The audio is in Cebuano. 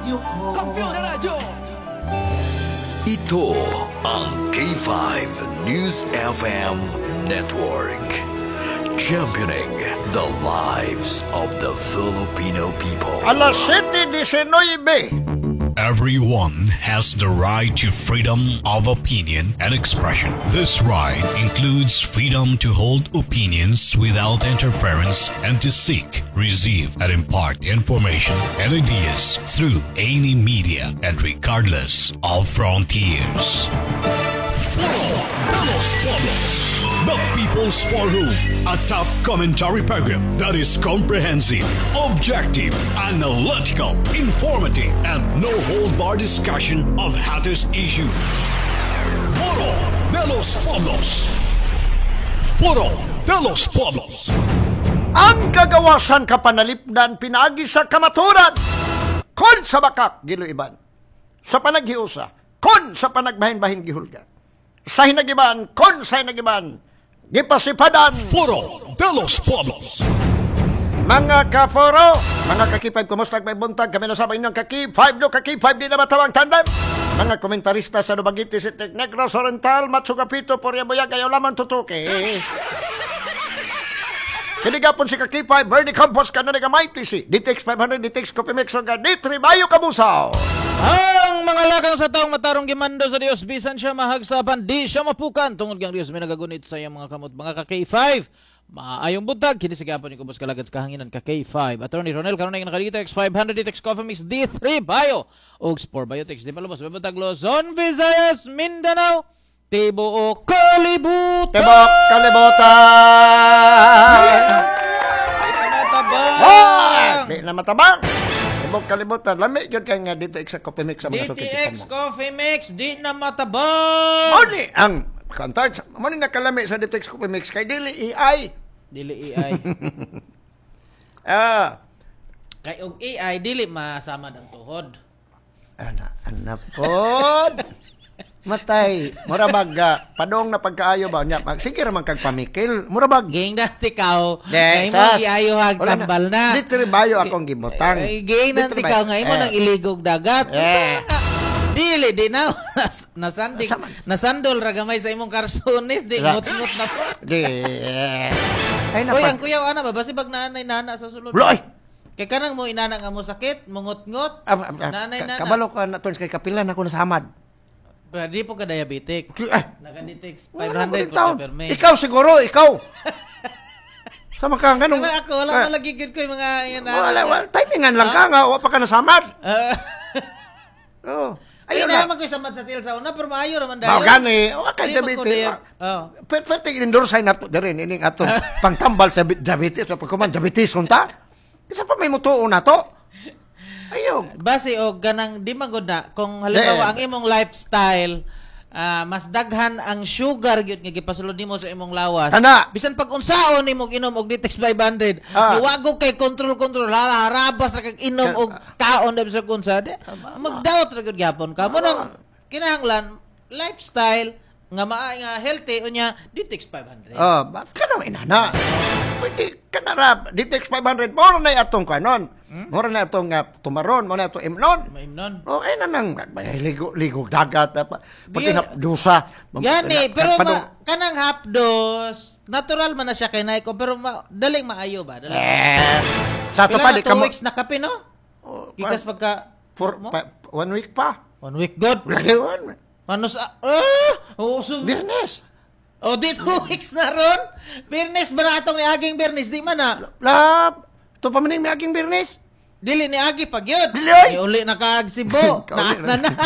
Radyo ko. Kampiyon na radyo! Ito ang K5 News FM Network. Championing the lives of the Filipino people. Alas 7:19. Everyone has the right to freedom of opinion and expression. This right includes freedom to hold opinions without interference and to seek, receive, and impart information and ideas through any media and regardless of frontiers. Foro de los Pueblos. The People's Forum, a top commentary program that is comprehensive, objective, analytical, informative, and no hold-bar discussion of hottest issues. Foro de los Pueblos. Foro de los Pueblos. Ang kagawasan kapanalipdan pinaagi sa kamaturan. Kon sa bakak giluiban. Sa panaghiusa. Kon sa panagbahin-bahin gihulga. Sa hinagiban, kon sa hinagiban, gipasipadan. Foro de los Pueblos. Mga kaforo, mga ka-K5, kumusta may buntag? Kami na sa inyong ka-K5 do, ka-K5 di na matawang tandem. Mga komentarista sa Dumaguete City, Negros Oriental, Matsugapito, Poria Buyag, ayaw lamang tutuki. Kini gapon si ka-K5, Bernie Campos, kananiga MyTC, DTX 500, DTX Coffee Mix, D3 Bayo Kabusaw. Ang mga lakang sa taong matarong gimando sa Dios, bisan siya mahagsapan, di siya mapukan tungod kang Dios may nagagunit sa iyang mga kamot. Mga ka K5, maayong buntag, kini sa gapon ni kubos kalagad sa kahanginan, ka K5 Attorney Ronel karon nga naka DTX 500, DTX Coffee Mix, D3 Bio ug Sport Biotics. Di palubos, buntag Luzon, Visayas, Mindanao, tibuok kalibutan. Tibok kalibutan! Di na matabang. Ah! Di na matabang! Tibok kalibutan. Lami gyud kay nga DTX sa Coffee Mix sa mga suki DTX mo. Coffee Mix, di na matabang. Mao ni ang kantar, mao ni nakalami sa DTX Coffee Mix kay dili AI. Dili AI. Kay og AI dili masama ang tuhod. Ana, ana pod. Matay, mura bag padong na pagkaayo ba nya. Sige ra man kag pamikil. Mura bag Ging dati kaw, De, nga imo sas. giayohag Wala na. tambal na. Dito bayo akong gibutang. Eh, ging Dito nanti bayo. kaw nga imo nang iligog dagat. Eh. Unsa nga? Dili di na nasandig Asa man? nasandol ra gamay sa imong karsones di ngut-ngut na po. Di. Ay Uy, ang na. kuyaw ana ba basibag naanay nana sa sulod. Loy. Kay kanang mo inana nga mo sakit, mungot-ngot. Ah, ah, ah, Nanay, nana. Kabalo ka na turns kay kapilan ako na sa hamad. Pero di po ka diabetic. Ay, Naka-DTX wala ko 500 din po taon. ka perme. Ikaw siguro, ikaw. Sama ka ganun. Kana ako wala Ah, pa lagi gid ko yung mga yan. Wala, wala. Timingan lang ka nga, wa pa ka nasamad. Oo. Ayun Ayun na na. man ko samad sa til sa una pero maayo ra man dayon. Mao gani, wa kay Di man ko diabetes. Oh. Pwede pwede endorse na to diri ining atong pangtambal sa diabetes o pagkuman diabetes unta. Isa pa may mutuo na to. Ayo. Base og ganang di man gud na kung halimbawa Eh. ang imong lifestyle, mas daghan ang sugar gyud nga gipasulod nimo sa imong lawas. Ana. Bisan pag unsaon nimo inom og DTX 500, niwago kay control control hala harabas ra kag inom og kaon dahil sa kunsa. Di, magdawat ra gyud gyapon ka. Mo nang kinahanglan lifestyle nga maa nga healthy unya DTX 500. Oh, ba kana inana. Pwede kana ra DTX 500 mo na atong kanon. Mo na atong tumaron, mo na atong imnon. Maimnon. Okay na nang may ligo ligo dagat pa. Pati dusa. Gani, pero kanang half dose, natural man na siya kay Nike, pero daling maayo ba? Daling. Eh, sa ato Pila pa na di 2 kamo weeks na kape, no? Oh, Gikas pagka for mo? pa, one week pa. One week good. Lagi one. Ano sa oh, so, Biyernes. Oh, di 2 weeks na ron. Biyernes ba na atong niaging Biyernes? Di man na. La, to pa man yung miaging Biyernes. Dili ni Agi pag yun. Dili, oy! Ni uli na kaag Cebu. Kauli Na, na, na.